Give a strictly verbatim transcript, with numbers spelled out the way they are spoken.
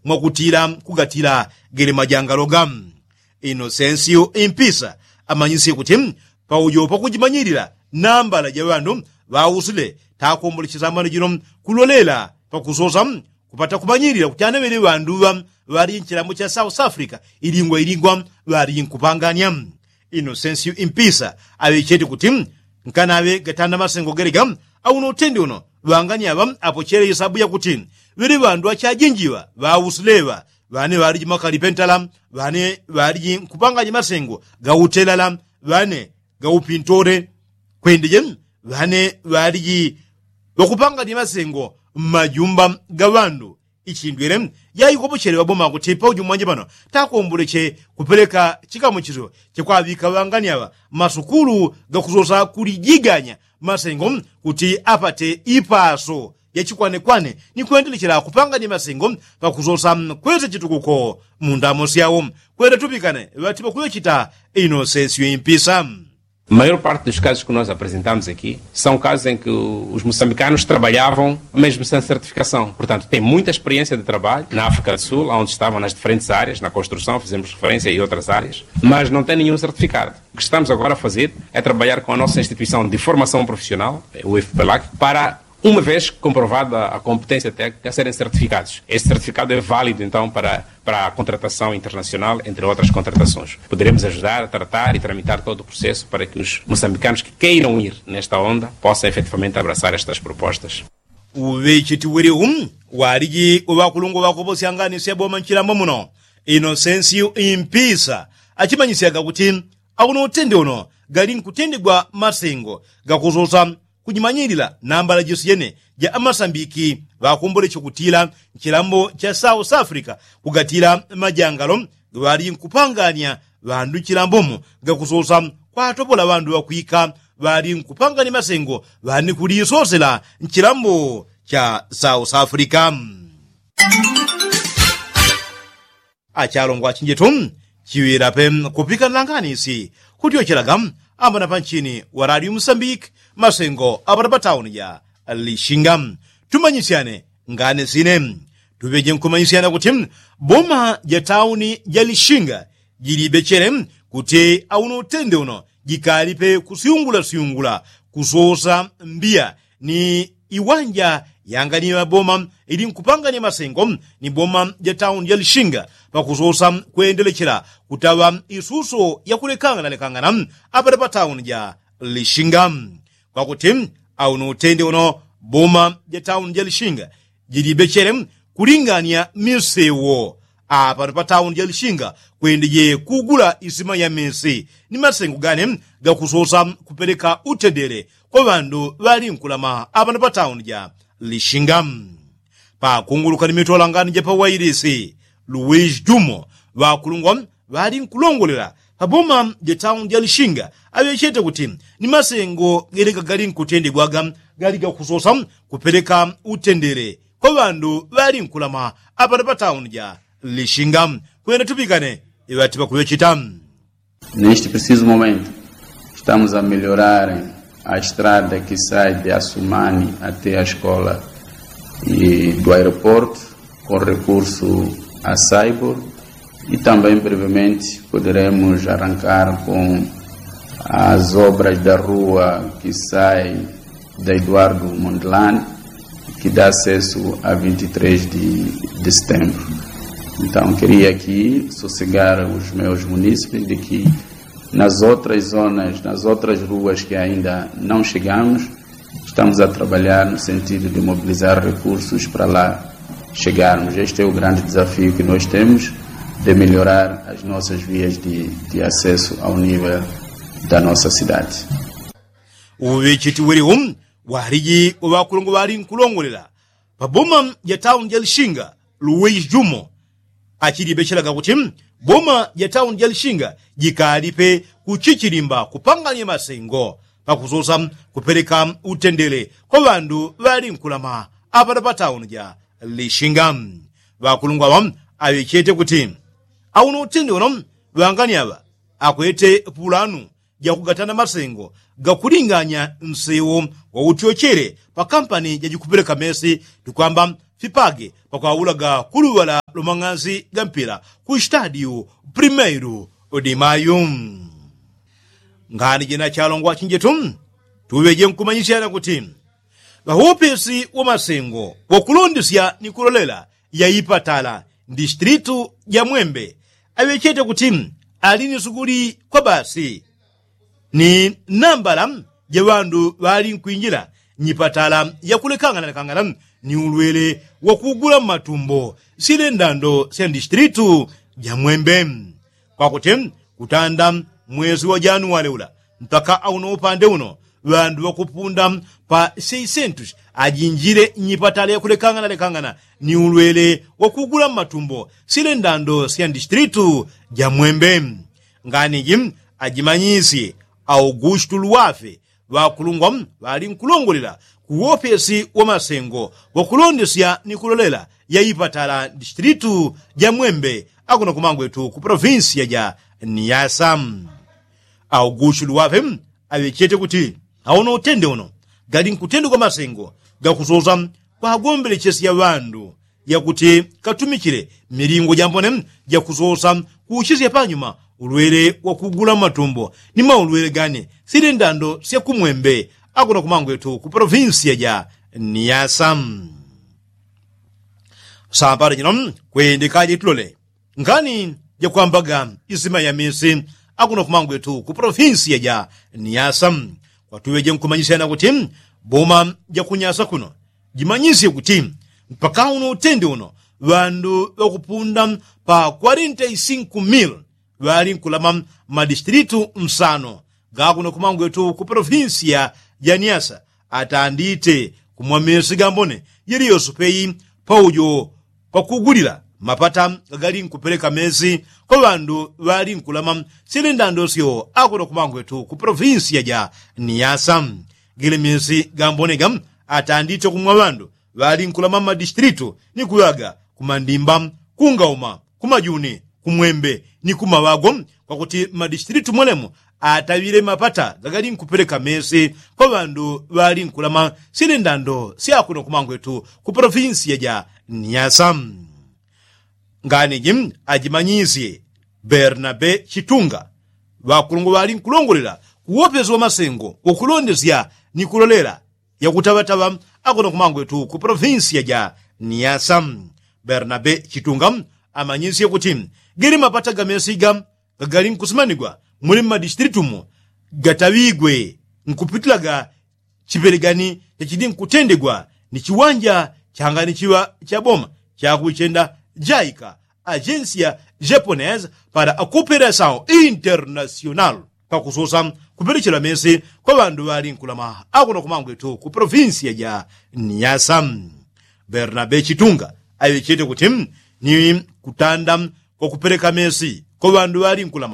mwakutila kugatila gele majangaloga. Inosensiyo impisa amanyisye kuti paujo pakujimanyilila nambala ja ŵandu ŵausile takomboleche sambano jino kulolela pakusosa kupata kumanyilila kuti anaŵele ŵandu ŵa ŵali nchilambo cha south africa ilingwa ilingwa ŵali nkupanganya. Inosensiyo impisa aŵechete kuti nkanaŵe gatanda masengo gelega auno utende uno ŵangani aŵa apochele isabu yakuti ŵele ŵandu achajinjiŵa ŵausileŵa ŵane ŵaliji makali pentala ŵane ŵaliji nkupanganya masengo gautelala ŵane gaupintole kwendeje ŵane ŵaliji ŵakupanganya masengo mmajumba ga ŵandu. Ichindwele yaikopochele ŵaboma kuti pauju mwanje pano takomboleche kupeleka chikamuchiso chakwaŵika ŵangani aŵa masukulu gakusosa kulijiganya masengo kuti apate ipaso yachikwanekwane ni kwendelechela kupanganya masengo pakusosa kwesa chitukuko mundamo syawo. Kwenda tupikane ŵati pakuŵechita inosensiyo impisa. Maior parte dos casos que nós apresentamos aqui são casos em que os moçambicanos trabalhavam mesmo sem certificação. Portanto, têm muita experiência de trabalho na África do Sul, onde estavam nas diferentes áreas, na construção, fizemos referência e outras áreas, mas não têm nenhum certificado. O que estamos agora a fazer é trabalhar com a nossa instituição de formação profissional, o IFPLAC, para uma vez comprovada a competência técnica, serem certificados. Este certificado é válido, então, para, para a contratação internacional, entre outras contratações. Poderemos ajudar a tratar e tramitar todo o processo para que os moçambicanos que queiram ir nesta onda possam efetivamente abraçar estas propostas. Uŵecheti wili u waliji uŵakulungwa ŵakoposyangani syaboma nchilambo muno inosensiyo impisa achimanyisyaga kuti auno utende uno gali nkutendegwa masengo gakusosa kujimanyilila nambala jisiyene ja amasambiki ŵakomboleche kutila nchilambo cha south africa kugatila majangalo ŵali nkupanganya ŵandu nchilambomo gakusosa kwatopola ŵandu ŵakwika ŵali nkupanganya masengo ŵani kulisosela nchilambo cha south africa. Achalongwa achinjetu chiŵila pe kupikanila ngani si kutyochelaga ambana panchini wa radio musambiki masengo apata patauni ja lishinga. Tumanyisyane ngani sine tuŵeje nkumanyisyana kuti boma ja tauni ja lishinga jilibechele kuti auno utende uno jikalipe kusyungula syungula kusosa mbiya ni iwanja yangani ŵaboma ili nkupanganya masengo ni boma ja tauni ja lishinga pakusosa kwendelechela kutaŵa isuso yakulekangana lekangana apata patauni ja lishinga. Kwakuti auno utende uno boma ja tauni ja lishinga jilibechele kulinganya misewo apano patauni ja lishinga kwendeje kugula isima ya misi ni masengo gane gakusosa kupeleka utendele kwa ŵandu ŵali nkulama apano patauni ja lishinga. Pakunguluka ni mitolangani ja pawailisi luwiji jumo ŵakulungwa ŵali nkulongolela paboma ja tauni ja lishinga aŵechete kuti ni masengo gelega gali nkutendegwaga gali gakusosa kupeleka utendele kwa ŵandu ŵali nkulama apano patauni ja lishinga. Kwenda tupikane iŵati pakuŵechita. Neste preciso momento estamos a melhorar a estrada que sai de asumani até a escola e do aeroporto com recurso a saibor e também brevemente poderemos arrancar com as obras da rua que sai da eduardo mondelani que dá acesso a vinte e três de setembro. Então queria aqui sossegar os meus munícipes de que nas outras zonas nas outras ruas que ainda não chegamos estamos a trabalhar no sentido de mobilizar recursos para lá chegarmos este é o grande desafio que nós temos de melhorar as nossas vias de acesso ao nível da nossa cidade. Uŵechiti wili u waliji uŵakulungwa ŵali nkulongolela paboma ja tauni ja lishinga luwiji jumo achilibechelaga kuti boma ja tauni ja lishinga jikalipe kuchichilimba kupanganya masengo pakusosa kupeleka utendele kwa ŵandu ŵali nkulama apano patauni ja lishinga. Ŵakulungwa aŵa aŵechete kuti auno utende uno ŵangani aŵa akwete pulanu jakugatana masengo gakulinganya nsewo wautyochele pakampani jajikupeleka mesi tukwamba fipage pakwaulaga kuluŵala. lumang'anzi ga mpila ku stadiu primeiru di mayu. Ngani jina chalongwa chinjetu tuŵeje nkumanyisyana kuti ŵaupesi wa masengo wakulondesya ni kulolela ya ipatala mdistritu ja mwembe aŵechete kuti ali ni sukuli kwa basi ni nambala ja ŵandu ŵali nkwinjila nyipatala yakulekangana lekangana ni ulwele wakugula mmatumbo sile ndando sya mdistritu ja mwembe. Kwakuti kutanda mwezi wa januwale ula mpaka auno upande uno ŵandu ŵakupunda pa seisentusi ajinjile nyipatala yakulekangana lekangana ni ulwele wakugula mmatumbo sile ndando sya mdistritu ja mwembe. Ngani ji ajimanyisye augustu luwafe ŵakulungwa ŵali nkulongolela ku wopesi wa masengo wakulondesya ni kulolela ya ipatala mdistritu ja mwembe akuno kumangwetu ku polovinsiya ja niyasa. Augustu luwafe aŵechete kuti auno utende uno gali nkutendegwa masengo gakusosa kwagombelechesya ŵandu yakuti katumichile milingo jambone jakusosa kuuchisya panyuma ulwele wakugula mmatumbo ni maulwele gani sili ndando sya kumwembe akuno kumangwetu ku polovinsiya ja niyasa. Sapato jino kwendekaje tulole ngani jakwambaga isima ya misi akuno kumangwetu ku polovinsiya ja niyasa. Kwatuŵeje nkumanyisyana kuti boma jakunyasa kuno jimanyisye kuti mpaka uno utende uno ŵandu ŵakupunda pa kwarenta i sinku mil ŵali nkulama mmadistilitu nsano gakuno kumangwetu ku polovinsiya ja niyasa atandite kumwa mesi gambone yeliyoso peyi paujo pakugulila mapata gagali nkupeleka mesi kwa ŵandu ŵali nkulama sili ndando syo akuno kumangwetu ku polovinsiya ja niyasa. Gili mesi gambone ga atandite kumwa ŵandu ŵali nkulama mmadistilitu ni kuŵaga kumandimba kungauma kumajuni kumwembe ni kumaŵago kwakuti mmadistilitu mwelemo ataŵile mapata gagali nkupeleka mesi kwa ŵandu ŵali nkulama sili ndando syakuno kumangwetu ku polovinsiya ja niyasa. Ngani ji ajimanyisye bernabe chitunga ŵakulungwa ŵali nkulongolela ku wopesi wa masengo wakulondesya ni kulolela yakutaŵataŵa akuno kumangwetu ku polovinsiya ja niyasa. Bernabe chitunga amanyisye kuti gili mapata gamesi ga gagali nkusimanigwa muli mmadistilitu mo gataŵigwe nkupitilaga chipelegani chachili nkutendegwa ni chiwanja changani chiŵa cha boma chakuichenda jaika agencia japonese para a cooperação internacional pakusosa kupelechela mesi kwa ŵandu ŵali nkulama akuno kumangwetu ku polovinsiya ja niyasa. Bernabe chitunga aŵechete kuti ni kutanda kwa kupeleka mesi kwa ŵandu ŵali nkulama